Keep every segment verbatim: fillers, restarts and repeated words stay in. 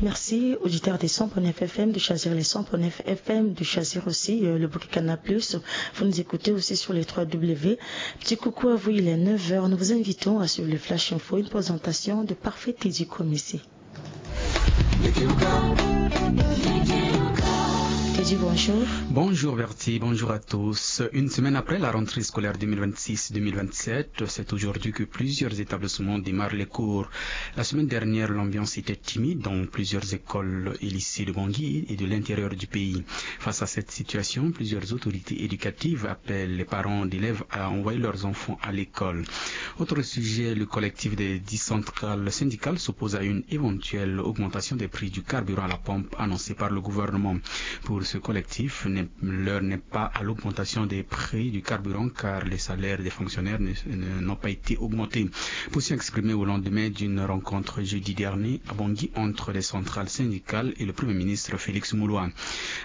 Merci, auditeurs des cent point neuf F M, de choisir les cent point neuf F M, de choisir aussi, euh, le bouquet Canal Plus. Vous nous écoutez aussi sur les trois W. Petit coucou à vous, il est neuf heures. Nous vous invitons à suivre le Flash Info, une présentation de Parfait Teddy Comissé. Teddy, bonjour. Bonjour Bertie, bonjour à tous. Une semaine après la rentrée scolaire deux mille vingt-six deux mille vingt-sept, c'est aujourd'hui que plusieurs établissements démarrent les cours. La semaine dernière, l'ambiance était timide dans plusieurs écoles et lycées de Bangui et de l'intérieur du pays. Face à cette situation, plusieurs autorités éducatives appellent les parents d'élèves à envoyer leurs enfants à l'école. Autre sujet, le collectif des dix centrales syndicales s'oppose à une éventuelle augmentation des prix du carburant à la pompe annoncée par le gouvernement. Pour ce collectif, n'est- l'heure n'est pas à l'augmentation des prix du carburant, car les salaires des fonctionnaires ne- ne- n'ont pas été augmentés. Position exprimée au lendemain d'une rencontre jeudi dernier à Bangui entre les centrales syndicales et le Premier ministre Félix Mouloua.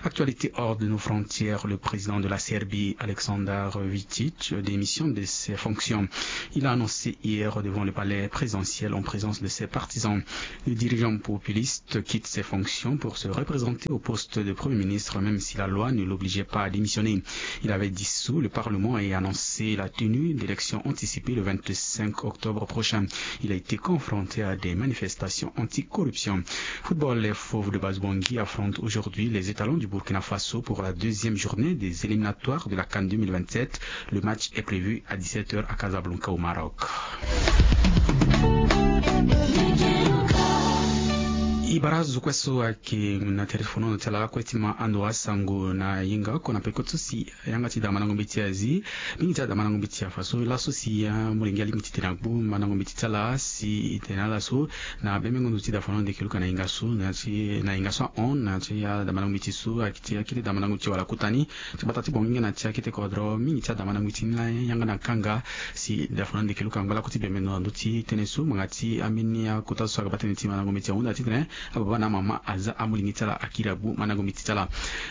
Actualité hors de nos frontières, le président de la Serbie, Aleksandar Vučić, démissionne de ses fonctions. Il a annoncé hier devant le palais présidentiel en présence de ses partisans. Le dirigeant populiste quitte ses fonctions pour se représenter au poste de Premier ministre, même si la loi ne l'obligeait pas à démissionner. Il avait dissous le Parlement et annoncé la tenue d'élections anticipées le vingt-cinq octobre prochain. Il a été confronté à des manifestations anticorruption. Football, les Fauves de Basse-Bangui affrontent aujourd'hui les étalons du Burkina Faso pour la deuxième journée des éliminatoires de la CAN deux mille vingt-sept. Le match est prévu à dix-sept heures à Casablanca au Maroc. E bara zo kue so ayeke na tere ti fonono ti ala lakue ti ma ando asango na yenga oko na peko ti so si yanga ti da mandango mbeti azi. Mingi ti ala da mandango mbeti afa so laso si amolenge alingbi titene agbu mandango mbeti ti ala si e tene ala so na bembengo ndo ti da fonono ndeke luka na yenga so na ti na yenga so ahon na ti ada mandango mbeti so akiti akete da mandango ti wala kota ni. Ti bata ti bonginga na ti akete kodro mingi ti ada mandango mbeti ni la yanga na kanga si da fonono ndeke luka ngba lako ti bembengo na ndo ti tënë so ngbanga ti ambeni akota so aga baa tënë ti mandango mbeti ahunda titene ababa na amama aza amolenge ti ala akiri agbu mandango mbeti ti ala.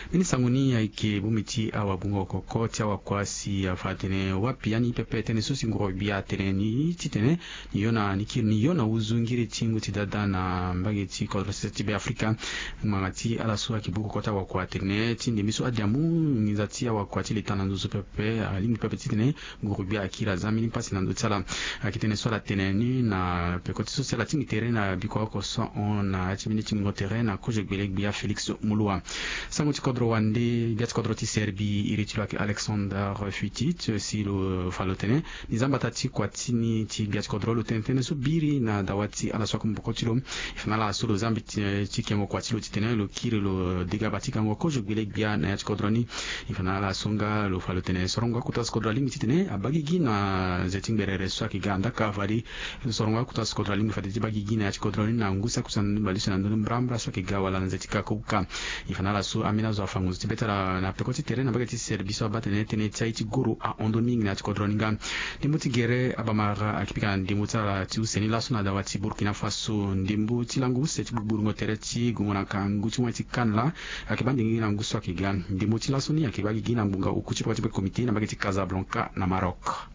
Mbeni sango ni ayeke bongbi ti awagbungo koko ti awakua si afa atene wapi ani pepe tënë so si nguru gbia atene ni titene ni yo na ni kiri ni yo na uzu ngiri ti ngu ti dada na mbage ti kodro sese ti be afrika. Ngbanga ti ala so ayeke buku kota wakua atene ti ndembe so adiamu nginza ti awakua ti leta na nduzu pepe alingbi pepe titene nguru gbia akiri aza mbeni pasi na ndö ti ala. Ayeke tënë so ala tene ni na peko ti so si ala tingbi tere na biko oko so ahon na ya ti mbeni tingbingo tere na kozo gbele gbia Félix Moloua. Sango ti kodro wande gbia ti kodro ti Serbie iri ti lo ayeke Aleksandar Vučić si lo fa lo tene ni za mbata ti kua ti ni ti gbia ti kodro lo tene tënë so biri na dawa ti ala so akue maboko ti lo. E fa na ala so lo za mbi ti kengo kua ti lo titene lo kiri lo dega ba ti gango kozo gbele gbia na ya ti kodro ni. E fa na ala so nga lo fa lo tene sorongo akota so kodro alingbi titene abaa gigi na nze ti ngberere so ayeke ga andaka fade sorongo akota so kodro alingbi fade ti baa gigi na ya ti kodro ni na ngu si akusa na ndö baleuse na ndö ni mbrambra so ayeke ga wala na nze ti kaka uka. E fa na ala so ambeni azo afa ngonzo ti be ti ala na peko ti tere na mbage ti Serbie so abaa tene tënë ti aye ti goro ahon ndoni mingi na ya ti kodro ni nga. Ndembo ti gere abamara ayeke pika na ndembo ti ala ti use ni laso na dawa ti Burkina Faso ndembo ti lango use ti gbugbulungo tere ti gongo na kangu ti wani ti CAN la ayeke baa ndingi na ngu so ayeke ga. Ndembo ti laso ni ayeke baa gigi na ngbonga oku ti peko ti be komite na mbage ti Casablanca na Maroc.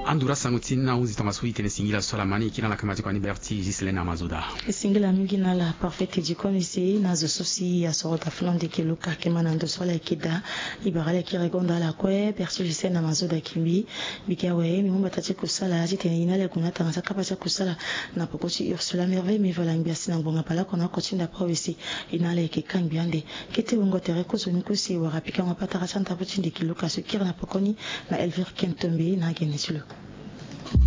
Andura sango ti ni na ahunzi tongaso e tene singila so ala ma ni e kiri na ala kama ti kua ni Berti Ghislaine Amazoda. E singila mingi na ala Parfait Teddy Comissé na zo so si asoro daa fana ndeke luka ayeke ma na ndo so ala yeke daa. E bara ala yeke regonda ala kue Berti Ghislaine Amazoda Kimbi. Mbi ke awe mbi mu mbata ti kusala titene e na ala e gue na atanga ti akapa ti akusala na poko ti Ursula Merveille Mivola Ngbiasi na ngbonga baleoko na oko ti ndapre awe si e na ala e yeke kangbi ande. Kete wungo tere kozo ni kue si e wara pikango patara ti andapre ti ndeke luka so e kiri na poko ni na Elvire Kentombe na agene ti lo.